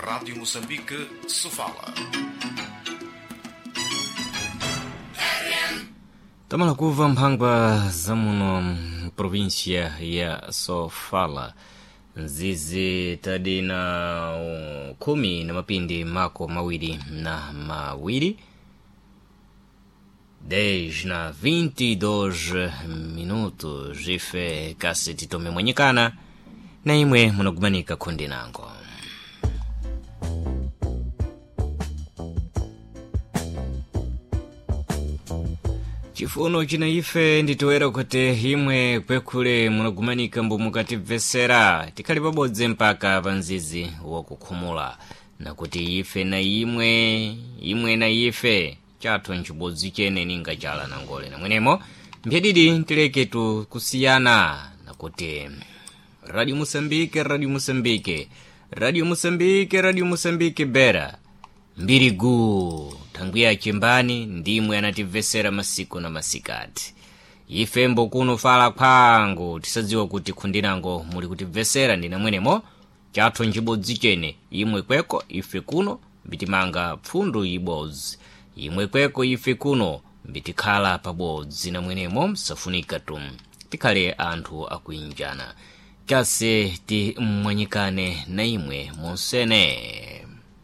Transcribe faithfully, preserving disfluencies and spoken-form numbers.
Rádio Moçambique, Sofala. Tamala kuva mphangwa za muno província ya Sofala, nzizi tadi na uh, khumi na mapindi mako mawiri na mawiri, dez na vinte e dois minutos. Ife kasi titome mwenyekana na imwe munagumanika khundi nango. Chifuno china ife nditoera kuti imwe kwekhule munagumanika mbu mukatibvesera, tikhali pabodzi mpaka pa mzizi wakukhumula, nakuti ife na imwe, imwe na ife, chathu nchibodzi chene ninga chala nangole namwenemo mphedidi tileketu kusiyana, nakuti Radio Moçambique, Radio Moçambique, Radio Moçambique, Radio Moçambique bera mbiri guu thangwi ya chimbani ndimwe anatibvesera masiku na masikati. Ife mbokuno fala khwangu tisadziwa kuti khundinango muli kutibvesera ndinamwenemo chathu nchibodzi chene, imwe kweko ife kuno mbitimanga pfundu ibodzi, imwe kweko ife kuno mbitikhala pabodzi namwenemo msafunika tum tikhale anthu akuinjana, chase timwanyikane na imwe monsene.